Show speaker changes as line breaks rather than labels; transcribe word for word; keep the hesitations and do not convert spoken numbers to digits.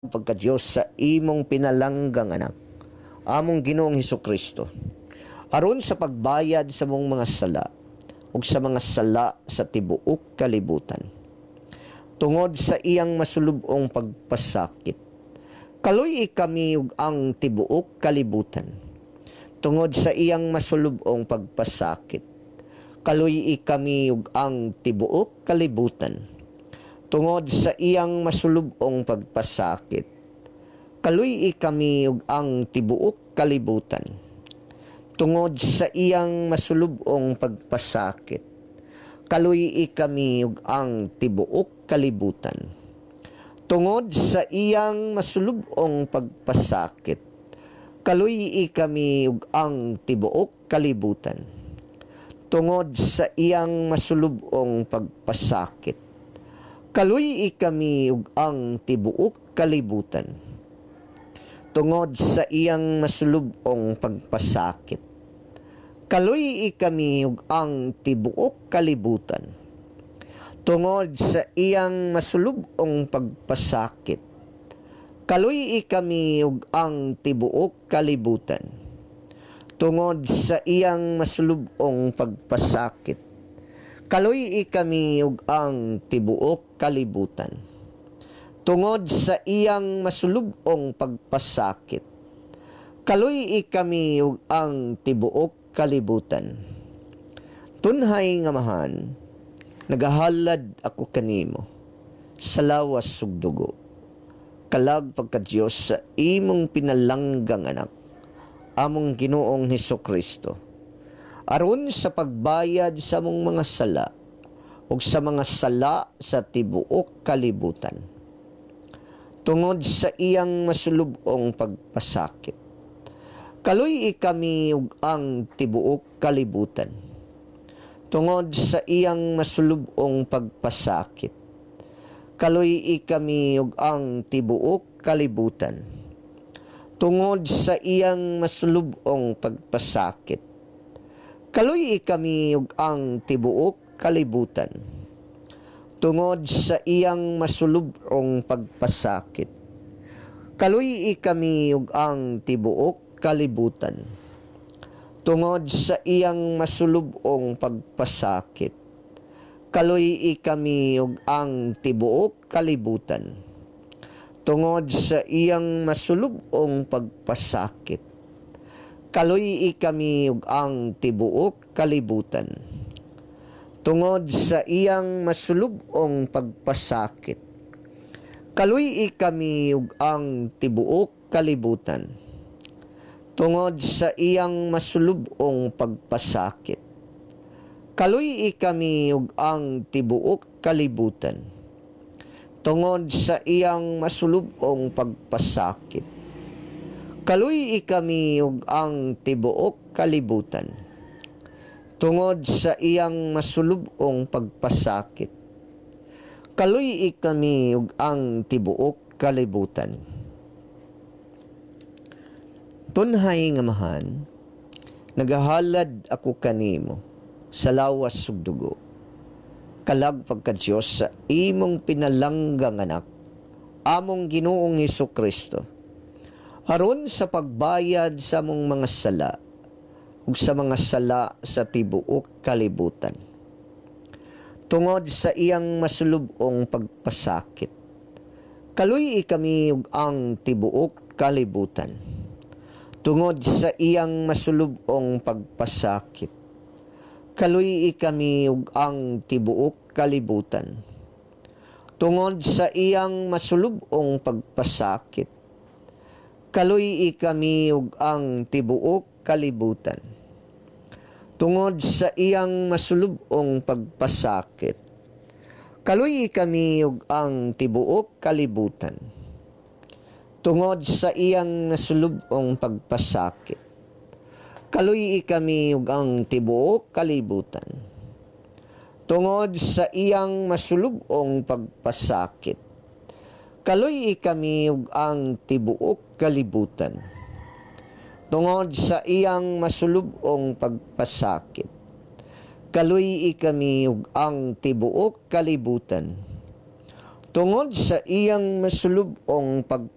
Pagka-Diyos sa imong pinalanggang anak, among Ginoong Hesus Kristo, aron sa pagbayad sa among mga sala ug sa mga sala sa tibuok kalibutan. Tungod sa iyang masulub-ong pagpasakit, kaluy-i kami ug ang tibuok kalibutan. Tungod sa iyang masulub-ong pagpasakit, kaluy-i kami ug ang tibuok kalibutan. Tungod sa iyang masulub-ong pagpasakit, kaluy-i kami ug ang tibuok kalibutan. Tungod sa iyang masulub-ong pagpasakit, kaluy-i kami ug ang tibuok kalibutan. Tungod sa iyang masulub-ong pagpasakit, kaluy-i kami ug ang tibuok kalibutan. Tungod sa iyang masulub-ong pagpasakit, kaluy-i kami ug ang tibuok kalibutan. Tungod sa iyang masulub-ong pagpasakit, kaluy-i kami ug ang tibuok kalibutan. Tungod sa iyang masulub-ong pagpasakit, kaluy-i kami ug ang tibuok kalibutan. Tungod sa iyang masulub-ong pagpasakit, kaluy-i kami ug ang tibuok kalibutan. Tungod sa iyang masulub-ong pagpasakit, kaluy-i kami ug ang tibuok kalibutan. Tunhay nga Amahan, nagahalad ako kanimo sa lawas ug dugo, kalag pagka-Dios sa imong pinalanggang anak, among Ginoong Hesus Kristo, aron sa pagbayad sa among mga sala ug sa mga sala sa tibuok kalibutan. Tungod sa iyang masulub-ong pagpasakit, kaluy-i kami ug ang tibuok kalibutan. Tungod sa iyang masulub-ong pagpasakit, kaluy-i kami ug ang tibuok kalibutan. Tungod sa iyang masulub-ong pagpasakit, kaluy-i kami ug ang tibuok kalibutan. Tungod sa iyang masulub-ong pagpasakit, kaluy-i kami ug ang tibuok kalibutan. Tungod sa iyang masulub-ong pagpasakit, kaluy-i kami ug ang tibuok kalibutan. Tungod sa iyang masulub-ong pagpasakit, kaluy-i kami ug ang tibuok kalibutan. Tungod sa iyang masulub-ong pagpasakit, kaluy-i kami ug ang tibuok kalibutan. Tungod sa iyang masulub-ong pagpasakit, kaluy-i kami ug ang tibuok kalibutan. Tungod sa iyang masulub-ong pagpasakit, kaluy-i kami ug ang tibuok kalibutan. Tungod sa iyang masulub-ong pagpasakit, kaluy-i kami ug ang tibuok kalibutan. Tunhay nga Amahan, nagahalad ako kanimo sa lawas ug dugo, kalag pagka-Dios sa imong pinalanggang anak, among Ginoong Hesus Kristo, aron sa pagbayad sa among mga sala ug sa mga sala sa tibuok kalibutan. Tungod sa iyang masulub-ong pagpasakit, kaluy-i kami ug ang tibuok kalibutan. Tungod sa iyang masulub-ong pagpasakit, kaluy-i kami ug ang tibuok kalibutan. Tungod sa iyang masulub-ong pagpasakit, kaluy-i kami ug ang tibuok kalibutan. Tungod sa iyang masulub-ong pagpasakit, kaluy-i kami ug ang tibuok kalibutan. Tungod sa iyang masulub-ong pagpasakit, kaluy-i kami ug ang tibuok kalibutan. Tungod sa iyang masulub-ong pagpasakit, kaluy-i kami ug ang tibuok kalibutan. Tungod sa iyang masulub-ong pagpasakit, kaluy-i kami ug ang tibuok kalibutan. Tungod sa iyang masulub-ong pagpasakit,